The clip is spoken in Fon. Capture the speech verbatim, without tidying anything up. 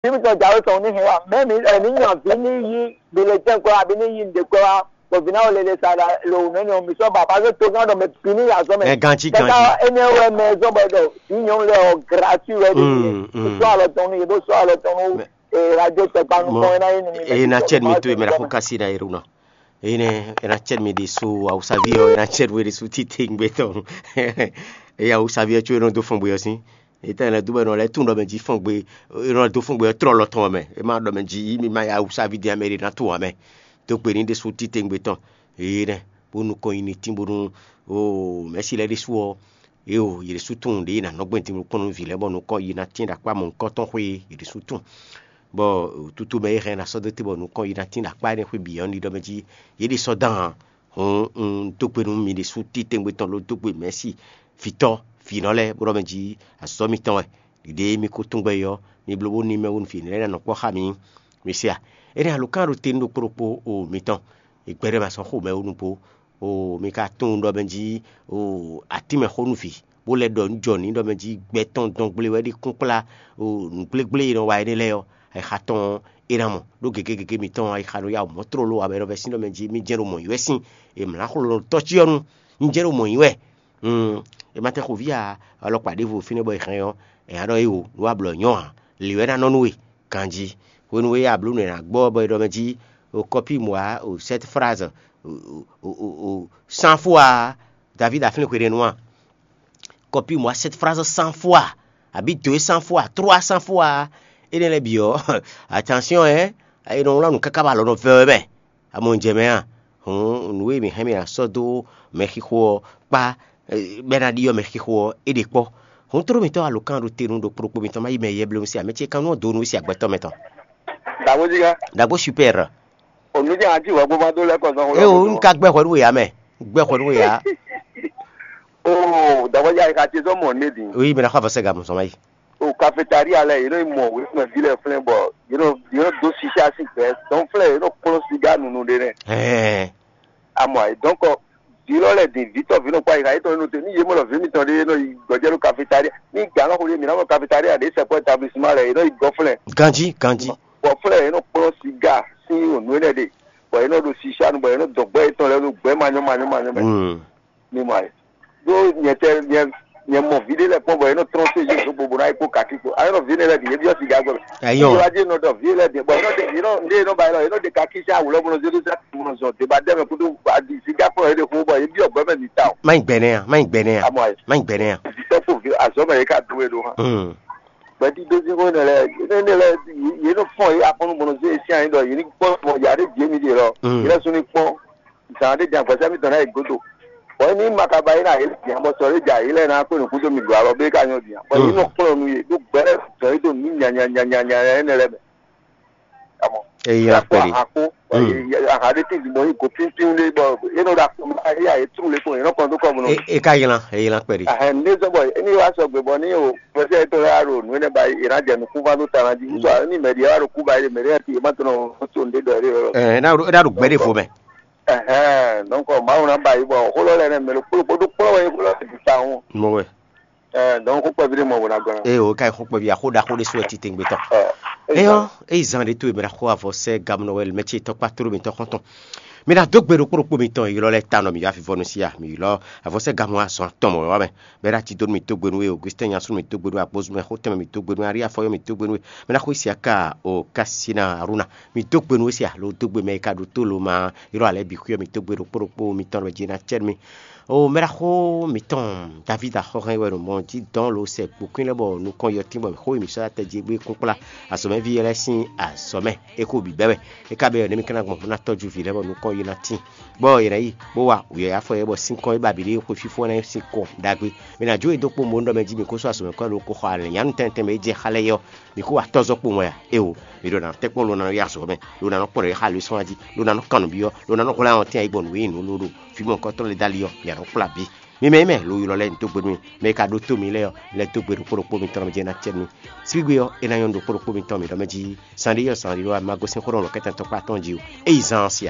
Bí mi tɔn jǎwe tɔn ní hɛn wá, mɛ mi ɛ ní nya vǐ ní yí bilɛtɛn kwɛ wá, bí ní yí nǔɖé kwɛ wá, bɔ vǐ ná wɔ lele sa ɖo nǔ énɛ́ ɔ́, mi sɔ́ ba, parce que togán ɖɔ mɛ bǐ ní yi azɔn mɛ. Ɛ, ganjí, ganjí. Kaka énɛ́ wɛ mɛ zɔn bɔ ɖɔ vǐ nyɔ̌nu lɛ́ɛ ɔ́, gratuit wɛ ɖi. Mm, mm. Sɔ́ alɔ tɔn nú yě, bó sɔ́ alɔ tɔn nú Mɛ- ee radio tɔgba nukɔn ena yé ni mi. Eye na cɛn mi to e mɛ la xo kasi na yero nɔ. Eye nɛ ena cɛn mi ɖe so awusavi ɔ, ena cɛn mi ɖe so tite ŋgbɛ tɔn. Eye awusavi ɔ tso e nɔ do fɔn gbe ɔ sin. Eta ena do bɛ nɔ lɛ tun ɖɔ mɛ ji fɔn gbe, e nɔ do fɔn gbe ɔ trɔ lɔ tɔn mɛ. E ma ɖɔ mɛ ji yi mi ma ya awusavi di amɛ ɖe na to amɛ. Do gbe ni ɖe so tite ŋgbɛ tɔn. Eye nɛ bo nukɔn yi ni tin bonu o mɛsi lɛ ɖe su ɔ. Eo, yě ɖésú tunwun ɖě yě ná nɔ gbɛn din nukɔn nú vǐ lɛ́ɛ bɔ nukɔn yi ná tín ɖo akpá mɔ̌hunkɔtɔn xwé é, yě ɖésú tunwun. Bɔ tutu mɛ e hɛn ná sɔ́ dó te bɔ nukɔn yi ná tín ɖo akpá énɛ́ xwé bǐ ɔ́, ní ɖɔ mɛ jí yě ɖě sɔ́ dán ǎ. Hǔn un dó gbe nú mi ɖésú titewungbe tɔn ló dó gbe mɛ̌si vǐtɔ́ vǐnɔ lɛ́ɛ bó ɖɔ mɛ jí azɔ̌ mitɔn wɛ. Ɖiɖe mi ko tunwun gbɛ é ɔ́, mi bló bó ní mɛ wónú vǐ lɛ́ɛ ná nɔ kpɔ́ xá mi. Mi se a? Énɛ́ alǒkan ɖo te nú ɖokpó ɖokpó o mitɔn, è gbɛɖe ma sɔ́ xo mɛ wónú bó. O mi ka tunwun ɖɔ mɛ jí o atínmɛ xó nú vǐ, bó lɛ́ ɖɔ nǔ jɔ n'i ɖɔ mɛ jí gbɛ tɔn dɔn gble wɛ ɖi kúnkplá o nǔgblégblémɛ e nɔ wa énɛ́ lɛ́ɛ ɔ́, ayixa tɔn é ná mɔ. Ɖó gěgé gěgé mitɔn ayixa nɔ ya mɔ̌ tlóló ǎ, bɔ é nɔ vɛ́ sín ɖɔ mɛ jí mì jɛ́n ɖo mɔ̌ yi wɛ sín, è mlǎ xlonɔ tɔ́ cyɔ́nu, mì jɛ́n ɖo mɔ̌ yi wɛ. Mm, è ma tɛn xo vǐ ǎ, alɔkpa ɖěvo fínɛ́ bɔ è hɛn ɔ́, è nǎ ɖɔ éwo nǔ wa blɔ nyɔ̌ ǎ, lě wɛ ná nɔ nú we ganjí. Hwenu e a blǒ nǔ e è nǎ gbɔ ɔ́, bɔ è ɖɔ mɛ jí o kɔpí mɔ̌ ǎ, o cette phrase, o, o, o, o, cent fois, David a flín hweɖénu a? Kɔpí mɔ̌ ǎ, cette phrase cent fois, abǐ deux cents fois, trois cents fois, énɛ́ lɛ́ɛ bǐ ɔ́, attention, hein, è nɔ wlán nǔ káká bɔ alɔ nɔ vɛ́ wɛ mɛ. Amɔ un jɛ mɛ a? Hǔn nǔ e mǐ hɛn mì ná sɔ́ dó mɛxixo ɔ́ kpá, bɔ é ná ɖyɔ́ mɛxixo ɔ́, é ɖe kpɔ́. Hǔn tló mǐtɔn alǒkan ɖo te nú ɖokpó ɖokpó mitɔn má yi mɛ yɛblɛ́ si ǎ, mɛ ce kan nú ɔ́ dǒ nú we si agbɛtɔ́ mɛ tɔn. Dǎgbójígá. Dǎgbó super. Onú jẹ́ àti ìwà gbogbo adó lẹ́kọ̀ọ́ sán. É o, un ka gbɛ hwɛ nú we ǎ mɛ. Gbɛ hwɛ nú we ǎ. Oo, dǎgbójígá, ìka ce sɔ́ mɔ nú mì din. Oui, mɛ ná xɔ avɔ sɛ gamɔ sɔn má yi. O cafétéria lɛ, yě nɔ yi mɔ wěkpɛ́nví lɛ́ɛ flɛ́n bɔ yě nɔ yě nɔ dó sisa sín gbɛ. Dɔn flɛ́ yě nɔ kplɔ́n siga nunu ɖé nɛ. Ɛɛ. Amɔ ayǐ dɔn kɔ vǐ lɔ lɛ din vǐ tɔ́ vǐ nɔ kpá yi xa yětɔn nɔ te ní yě mɔ lɔ vǐ mitɔn ɖé nɔ yi gbɔjɛ ɖo cafétéria. Ní gǎn lɔ xo ɖé mǐ ná mɔ cafétéria ɖě sɛkpɔ établissement lɛ yě nɔ yi gɔ flɛ́n. Ganjí, ganjí. Bɔ flɛ́ yě nɔ kplɔ́n siga sín nǔ énɛ́ ɖe, bɔ yě nɔ ɖo sisa nu, bɔ yě nɔ dɔn gbɛ yětɔn lɛ́ɛ ɖo gbɛ manyɔ manyɔ manyɔ mɛ. Mm. Mi mɔ ayǐ. Ɖó nyɛ tɛ nyɛ nyɛ mɔ vǐ ɖé lɛ́ɛ kpɔ́n bɔ yě nɔ trɔ́n sézé ɖokpó bó ná yi kpó kakí kpó. Ayé nɔ vǐ énɛ́ lɛ́ɛ bǐ yě byɔ́ siga gbɛ mɛ. Ayɔ. Yě wá jẹ́ nɔ ɖɔ vǐ énɛ́ lɛ́ɛ bǐ bɔ yě nɔ ɖe yě nɔ ɖe yě nɔ ba yě lɔ yě nɔ ɖe kakí sín awu lɔ bó nɔ zé ɖó sá bó nɔ zɔn deba dɛ mɛ kúdó adi siga kplɔ́n yě ɖe kún bɔ yě byɔ́ gbɛ mɛ ní ta o. Má nyí gbɛnɛ a, má nyí gbɛnɛ a, Amɔ ayé. Má nyí gbɛnɛ a. Vǐtɔ́ kpo vǐ azɔ̌ mɛ yě ka dó we ɖó hã. Hmm. Gbɛdídózínxó énɛ́ lɛ́ɛ énɛ́ lɛ́ɛ yě nɔ fɔ́n yě akɔ́nú bó nɔ zé yě sín anyí ɖɔ yě ní kpɔ́n mɔ yǎ ɖé jǐ émí ɖe lɔ. Hmm. Yě lɛ́ sú ní kpɔ́n. Zan ɖé din agbɛsɛ mitɔn ná yi gúdo. Bɔ émí ma ka ba yi ná yě bǐ ǎ, bɔ sɔ ɖé ja yě lɛ́ɛ ná kpé nǔ gúdo mi ɖo alɔ bé ka nyɔ bǐ ǎ. Bɔ yě nɔ kplɔ́n nú yě ɖó gbɛ́ lɛ́ɛ zɔn yí ɖo nǔ nyanya nyanya nyanya énɛ́ lɛ́ɛ mɛ. Amɔ. Eyi la kpɛɖi. Akó, aha ɖé tín bɔ yí go pínpín ɖé bɔ yé nɔ ɖo akó ma yé ayé trú lé kpɔn yé nɔ kplɔ́n dó kɔ bɔ nɔ. E ka ylan, eyi la kpɛɖi. Ahɛn ní zɔn bɔ émí wá sɔgbe bɔ ní o gbɛsɛ yětɔn lɛ́ɛ ɖo nǔ énɛ́ ba yě ná jɛ nukún ván dó ta ná jí. Nítorí ní mɛɖi wá ɖo kú ba yé mɛɖi yá ti yé má tɔn nɔ tó nǔ ɖé ɖɔ yé ɖɔ. Ɛ ɛ ná ɖo gbɛ ɖé fo mɛ. Ɛhɛn, donc Mawu ná ba yi bɔ xó lɔ lɛ nɛ mɛ ɖokpó ɖokpó ɖó kplɔ́n wɛ xó lɔ lɛ ta ŋu. Mo wɛ. Ɛɛ, donc xó kpɛví ɖé mɔ wò ná gɔn. Eye o ka yi xó kpɛví axó ɖaxó ɖé sɔ́ titewungbe tɔn. Ɛ, Eyɔ, eyi zan ɖé to e mɛ ɖo xó avɔ sɛ gamnɔ wɛ mɛ ce tɔkpa tló mitɔ xɔntɔn. Mi ná dó gbe ɖokpó ɖokpó mitɔn ylɔ lɛ ta nɔ mi yɔ avivɔnu sia mi ylɔ avɔ sɛ gamɔ azɔn atɔn mɔ wɛ mɛ. Bɛ́ ɖo ati dó nú mì dó gbe nú we, Augustin Nyasun mì dó gbe nú we, Agbozumɛ Xotɛnmɛ mì dó gbe nú we, Aríafɔyɔ mì dó gbe nú we, mɛ ná xó Isiaka o Kasina Aruna mì dó gbe nú we sia lo dó gbe mɛ e ka ɖo tó lo ma ylɔ́ alɛ bǐ xwíɔ mì dó gbe ɖokpó ɖokpó mitɔn ɖo jí ná cɛ nú mì. O mɛ ɖaxó mǐtɔn Davídi axɔ́hɛn wɛ ɖo mɔ jí dɔn lo sɛ kpokún lɛ́ɛ bɔ nukɔn yɔtín bɔ xó e mǐ sɔ́ ná tɛjí gbé kúnkplá azɔ̌mɛví lɛ́ɛ sín azɔ̌mɛ é xó bǐ bɛ́ wɛ. É ka bɛ́ ɔ́, nɛ̌ mi ka ná gbɔn bó ná tɔ́jú vǐ lɛ́ɛ bɔ nukɔn yi ná tíin? Bɔ yě ná yi bó wa wǔyɔ́yɔ́ afɔ yɛ bɔ sín kɔn e ba bǐ ɖe xwe fífó ná sin kɔ ɖagbe. Mɛ ná jó e dó kpó mo ɖɔ mɛ jí mi kó sú azɔ̌ mɛ kɔ ɖo ko xɔ alɛ̌nyanu tɛntɛn mɛ e jɛ xá lɛ́ɛ yɔ, mi kó wa tɔ́zɔ́ kpo mɔ ya? Éwo, mi ɖo ná tɛ́ kpɔ́n lo ná nɔ yi azɔ̌ mɛ, lo ná nɔ kpɔ́n ɖɔ yi xá lwǐsɔ́n jí, lo ná nɔ kan nǔ byɔ́, lo ná nɔ hwlɛ́n awɔntín ayǐ gbɔn nǔ e nyí nǔ lóɖo fí mɔ̌hunkɔtɔn lɛ́ɛ dó ali ɔ́, mi ná nɔ kplá bǐ. Mi mɛ e mɛ lo ylɔ́ lɛ́ɛ mi dó gbe nú mi, mɛ e ka ɖótó mi lɛ́ɛ ɔ́, lɛ́ dó gbe ɖokpó ɖokpó mitɔn mɛ jɛ ná cɛ nú mi. Sígbe ɔ́, é ná nyɔ́ nú ɖokpó ɖokpó mitɔn mi ɖɔ mɛ jí, zan ɖé yɔ zan ɖé wá ma gosín xó ɖɔ lɔ kɛ́tɛn tɔn kpá tɔn jí o. Ényí zan ɔ́ se a?